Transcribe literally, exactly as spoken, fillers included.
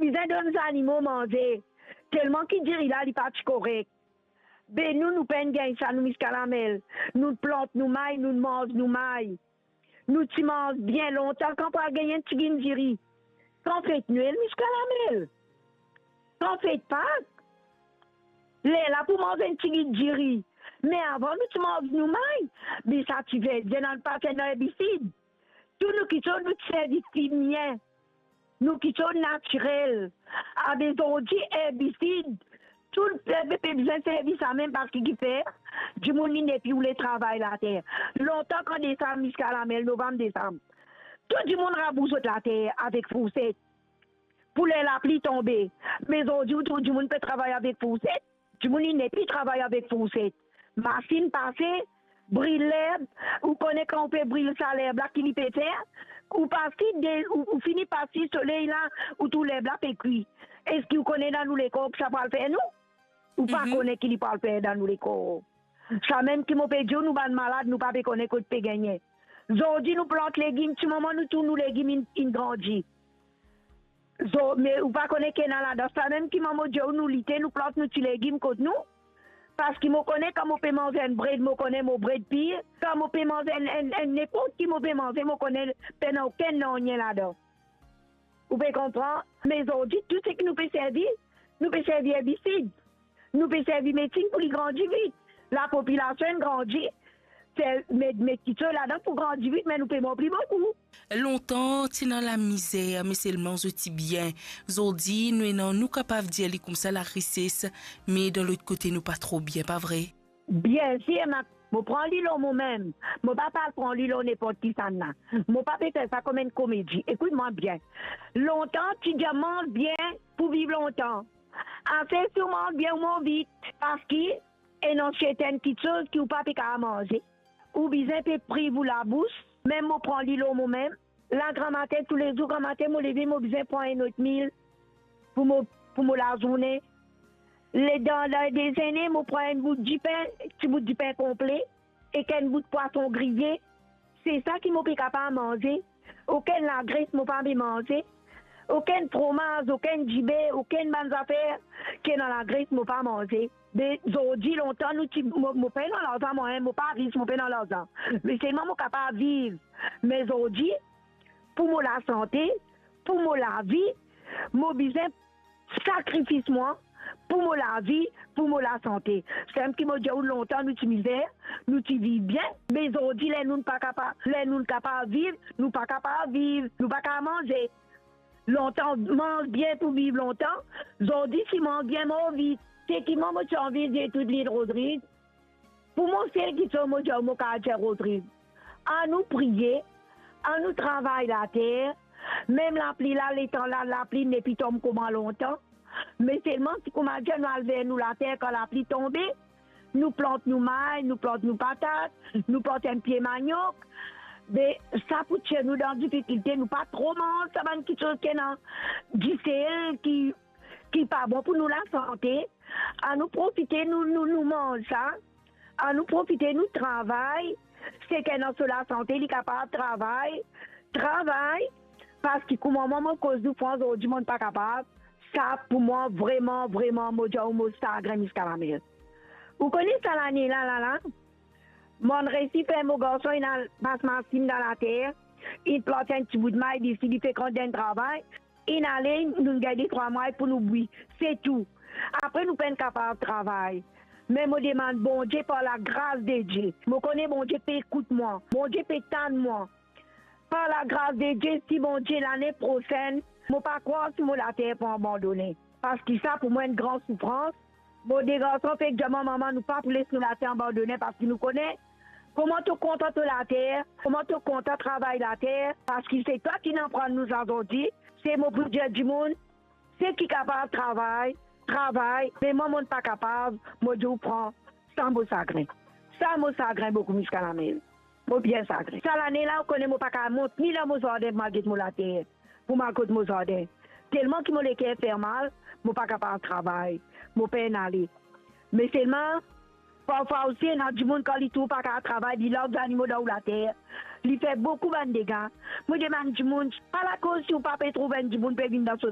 bizin donn zanimo manze, telman ki diri la, li pa ti korek. Be nou, nou pa'nn gagn sa, nou Miskalamel. Nou plant nou may, nou manz nou may. Nou ti manz bien lontan kan pou al gagn enn tigit diri. Kan fet Nwel, Miskalamel. Kan fet Pak. Lerla pou manz enn tigit diri. Me avan nou ti manz nou may. Be sa ti verdi, ena pa ti ena erbisid. Tou nou kiksoz nou ti servi fimie. Nou kiksoz natirel. Abe zordi, erbisid. Tou lepep pe bizin servi samem parski kifer? Dimoun li nepli oule travay later. Lontan kan desam Miskalamel, Novem, Desam, tou dimoun rabous zot later avek fourset pou ler lapli tonbe. Me zordi ou trouv dimoun pe travay avek fourset. Dimoun li nepli travay avek fourset. Masinn pase, bril lerb. Ou kone kan ou pe bril sa lerb la ki li pe fer? Ou pas ki de, ou, ou fini pas si soley la, ou trouv lerb la pe kwi. Eski ou kone dan nou lekor ki sa pou al fer nou? Ou pa kone ki li pou al fer dan nou lekor. Samem ki mo pe dir ou, nou bann malad, nou pa pe kone kot pe gagne. Zordi nou plant legim, ti moman nou trouv nou legim inn, inn grandi. Zo-, me ou pa kone ki ena ladan. Samem ki mo dir ou, nou lite, nou plant nou ti legim kot nou. Parski mo kone kan mo pe manz enn bred, mo kone mo bred pir. Kan mo pe manz enn, enn, enn ninport ki mo pe manze, mo kone pena okenn nanye ladan. Ou pe konpran? Me zordi, tou seki nou pe servi, nou pe servi erbisid. Nou pe servi medsin pou li grandi vit. Lapopilasion inn grandi, fer, met, met kiksoz ladan pou grandi vit, me nou pe mor pli boukou. Lontan ti ena lamizer, me selman zot ti bien. Zordi nou ena, nou kapav dir li koumsa, larises, me dan lot kote nou pa tro bien, pa vre? Biensir, ma, mo pran li lor momem. Mo pa pe al pran li lor ninport kisannla. Mo pa pe fer sa kouma enn komedi. Ekout mwa bien. Lontan ti dir manz bien pou viv lontan. Ase si ou manz bien, ou mor vit, parski ena sertenn kiksoz ki ou pa pe kapav manze. Ou bizin pe priv ou labous. Mem mo pran li lor momem. La, gramatin, toulezour gramatin mo leve, mo bizin pran enn otmil pou mo, pou mo lazourne. Le, dan, dan dezene, mo pran enn bout dipin, ti bout dipin konple, ek enn bout pwason griye. Se sa ki mo pe kapav manze. Okenn lagres mo pa pe manze. Okenn fromaz, okenn diber, okenn bann zafer ki ena lagres mo pa manze. Be zordi, lontan nou ti, mo, mo pena larzan mwa, mo pa ris, mo pena larzan. Me selman mo kapav viv. Me zordi, pou mo lasante, pou mo lavi, mo bizin sakrifis mwa, pou mo lavi, pou mo lasante. Samem ki mo dir ou, lontan nou ti mizer, nou ti viv bien, me zordi ler nou pa kapav, ler nou kapav viv, nou pa kapav viv, nou pa kapav manze. Lontan manz bien pou viv lontan, zordi si manz bien mor vit. Seki mwa mo ti anvi dir tou lil Rodrig, pou mo sel kiksoz mo dir, mo kapav dir Rodrig, anou priye, anou travay later. Mem lapli la, letan la, lapli nepli tonb kouma lontan. Me selman si kouma dir nou al ver nou later kan lapli tonbe, nou plant nou may, nou plant nou patat, nou plant enn pie maniok. Be sa pou tir nou dan difikilte, nou pa tro manz sa bann kiksoz ki ena disel ki, ki pa bon pou nou lasante. Anou profite nou, nou, nou manz sa. Anou profite nou travay. Seki ena so lasante, li kapav travay. Travay. Parski kouma mwa mo koz nou fran zordi, mo pa kapav. Sa pou mwa, vreman, vreman, mo dir ou, mo sagrin Miskalamel. Ou kone sa lane la, la, la, mo'nn resi fer mo garson inn al pas masinn dan later, inn plant enn ti bout may desi, li fek rant dan travay, inn ale, nou gagn de trwa may pou nou bwi, se tou. Apre nou pa'nn kapav travay. Me mo demann Bondie par lagras de Die. Mo kone Bondie pe ekout mwa. Bondie pe tann mwa. Par lagras de Die, si Bondie lane prosenn, mo pa krwar si mo later pou abandone. Parski sa pou mwa enn gran soufrans. Mo de garson fek dir mwa, mama, nou pa pou les nou later abandone, parski nou kone kouma to kontan to later, kouma to kontan travay later, parski se twa ki'nn aprann nou sa zordi. Se mo pou dir dimoun, seki kapav travay, travay, me mwa, mo'nn pa kapav, mo dir ou fran, sa mo sagrin. Sa mo sagrin boukou Miskalamel. Mo bien sagrin. Sa lane la, ou kone mo pa kapav mont ni dan mo zardin pou mo al get mo later, pou mo al kot mo zardin. Telman ki mo leker fer mal, mo pa kapav travay, mo pa'nn ale. Me selman, parfwa osi, ena dimoun kan li trouv pa kapav travay, li larg zanimo dan ou later, li fer boukou bann dega. Mo demann dimoun, pa lakoz si ou pa pe trouv enn dimoun pe vinn dan so